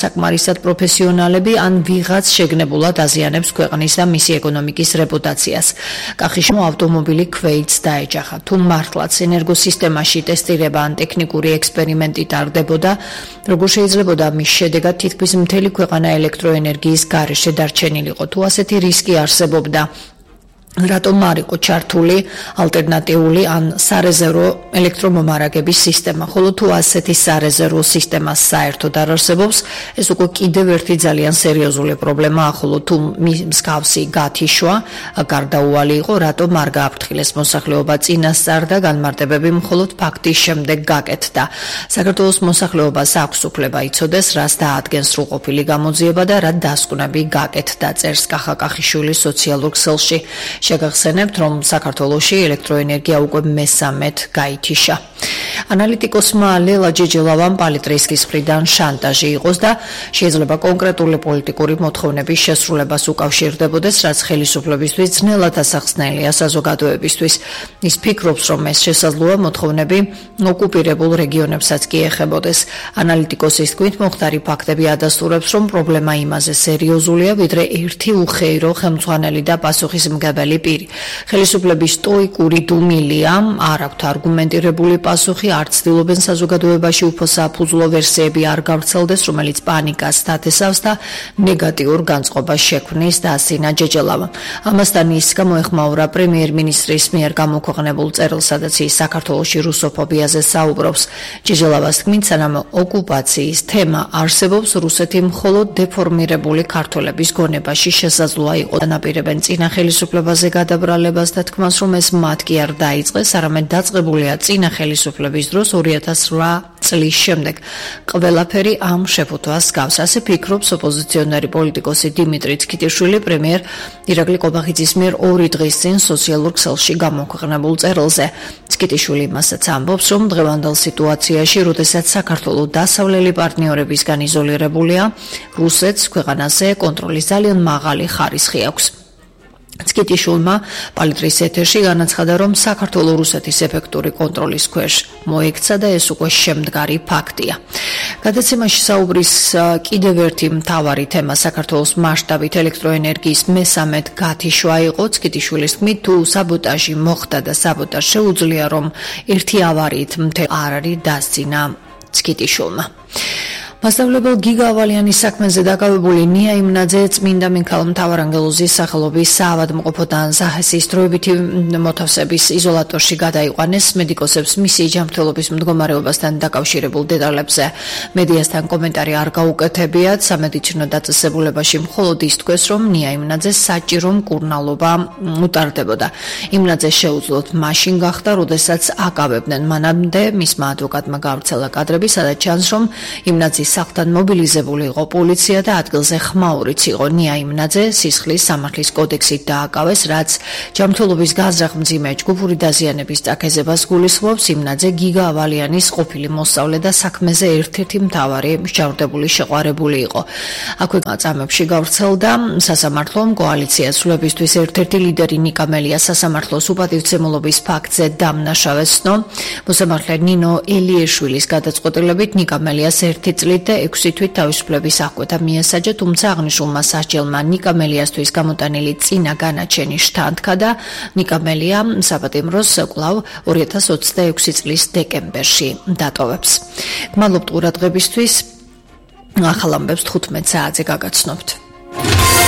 საკმარისად პროფესიონალები ან ვიღაც შეგნებულად აზიანებს ქვეყნის და მისი ეკონომიკის რეპუტაციას. კახიშმა ავტომობილი ქვეითს დაეჯახა. თუ მართლაც ენერგოსისტემაში ტესტირება ან ტექნიკური ექსპერიმენტი ტარდებოდა, როგორ შეიძლებოდა მის შედეგად თითქმის მთელი ქვეყანა ელექტროენერგიის გარეშე დარჩენილიყო, თუ ასეთი რისკი არსებობდა. რატომ არ იყო ჩართული ალტერნატიული ან სარეზერვო ელექტრომომარაგების სისტემა, ხოლო თუ ასეთი სარეზერვო სისტემა საერთოდ არ არსებობს, ეს უკვე კიდევ ერთი ძალიან სერიოზული პრობლემაა, ხოლო თუ მსგავსი გათიშვა გარდაუვალი იყო, რატომ არ გააფრთხილეს მოსახლეობა წინასწარ და განმარტებები მხოლოდ ფაქტის შემდეგ გაკეთდა. საქართველოს მოსახლეობას აქვს უფლება იცოდეს, რას დაადგენს სრულყოფილი გამოძიება და რა დასკვნები გაკეთდა, წერს კახა კახიშვილის სოციალურ ქსელში. შეგახსენებთ, რომ საქართველოში ელექტროენერგია უკვე მესამედ გაითიშა. ანალიტიკოსმა ლელა ჯეჯელავამ პალიტრისკის მხრიდან შანტაჟი იყოს და შეიძლება კონკრეტული პოლიტიკური მოთხოვნების შესრულებას უკავშირდებოდეს, რაც ხელისუფლებისთვის ძნელად ასახსნელია საზოგადოებისთვის. ის ფიქრობს, რომ ეს შესაძლოა მოთხოვნები ოკუპირებულ რეგიონებსაც კი ეხებოდეს. ანალიტიკოსის თქმით, მომხდარი ფაქტები ადასტურებს, რომ პრობლემა იმაზე სერიოზულია, ვიდრე ერთი უხეირო ხელმძღვანელი და პასუხისმგებელი პირი. ხელისუფლების სტოიკური დუმილია, არ აქვთ არგუმენტირებული პასუხი, არ ცდილობენ საზოგადოებაში უფრო საფუძვლო ვერსიები არ გავრცელდეს, რომელიც პანიკას დათესავს და ნეგატიურ განწყობას შექმნის, დაასწინა ჯეჯელავამ. ამასთან ის გამოეხმაურა პრემიერ-მინისტრის მიერ გამოქვეყნებულ წერილს, სადაც ის საქართველოში რუსოფობიაზე საუბრობს. ჯეჯელავას თქმით, სანამ ოკუპაციის თემა არსებობს, რუსეთი მხოლოდ დეფორმირებული ქართველების გონებაში შესაძლოა იყო. ანაპირებენ წინა ხელისუფლებაზე გადაბრალებას და თქმას, რომ ეს მათ კი არ დაიწყეს, არამედ დაწყებულია წინა ხელისუფლების დროს 2008 წლის შემდეგ. ყველაფერი ამ შეფუთვას გავს. ასე ფიქრობს ოპოზიციონერი პოლიტიკოსი დიმიტრი ცქიტიშვილი პრემიერ ირაკლი კობახიძის მიერ 2 დღის წინ სოციალურ ქსელში გამოქვეყნებულ წერილზე. ცქიტიშვილი იმასაც ამბობს, რომ დღევანდელ სიტუაციაში, როდესაც საქართველო დასავლელი პარტნიორებისგან იზოლირებულია, რუსეთს ქვეყანაზე კონტროლის ძალიან მაღალი ხარისხი აქვს. ცქიტიშვილმა პალიტრის ეთერში განაცხადა, რომ საქართველო რუსეთის ეფექტური კონტროლის ქვეშ მოექცა და ეს უკვე შემდგარი ფაქტია. გადაცემაში საუბრის კიდევ ერთი მთავარი თემა საქართველოს მასშტაბით ელექტროენერგიის მესამედ გათიშვა იყო. ცქიტიშვილის თქმით, თუ საბოტაჟი მოხდა და საბოტაჟ შეუძლია, რომ ერთი ავარიით მთელი არ არის, დასძინა ცქიტიშვილმა. მასშტაბლებელ გიგაავალიანის საქმეზე დაკავებული ნია იმნაძე წმინდა მიქაელ მთავარანგელოზის სახელობის საავადმყოფოდან ზაჰესის დროებითი მოთავსების იზოლატორში გადაიყვანეს. მედიკოსებს მისი ჯანმრთელობის მდგომარეობასთან დაკავშირებულ დეტალებზე მედიასთან კომენტარი არ გაუკეთებიათ. სამედიცინო დაწესებულებაში მხოლოდ ის თქვეს, რომ ნია იმნაძეს საჭირო მკურნალობა უტარდებოდა. იმნაძე შეუძლოთ მაშინ გახდა, როდესაც აკავებდნენ. მანამდე მისმა ადვოკატმა გავრცელა კადრები, სადაც ჩანს, რომ იმნაძის სახლთან მობილიზებული იყო პოლიცია და ადგილზე ხმაურიც იყო. ნია იმნაძე სისხლის სამართლის კოდექსით დააკავეს, რაც ჯანმრთელობის განზრახ-მძიმე ჯგუფური დაზიანების წაქეზებას გულისხმობს. იმნაძე გიგაავალიანის ყოფილი მოსწავლე და საქმეზე ერთ-ერთი მთავარი მსჯავრდებული შეყვარებული იყო. აქვე წამებში გავრცელდა სასამართლომ კოალიციას სრულებისთვის ერთ-ერთი ლიდერი ნიკა მელია სასამართლოს უპატივცემულობის ფაქტზე დამნაშავეს ცნო. მოსამართლე ნინო ელიეშვილის გადაწყვეტილებით ნიკა მელიას 1 წლით და 6 თვით თავისუფლების აღკვეთა მიესაჯა, თუმცა აღნიშნულმა სასჯელმა ნიკა მელიასთვის გამოტანილი წინა განაჩენი შთანთქა და ნიკა მელია საპატიმროს კვლავ 2026 წლის დეკემბერში დატოვებს. გმადლობთ ყურადღებისთვის. ახალ ამბებს 15 საათზე გაგაცნობთ.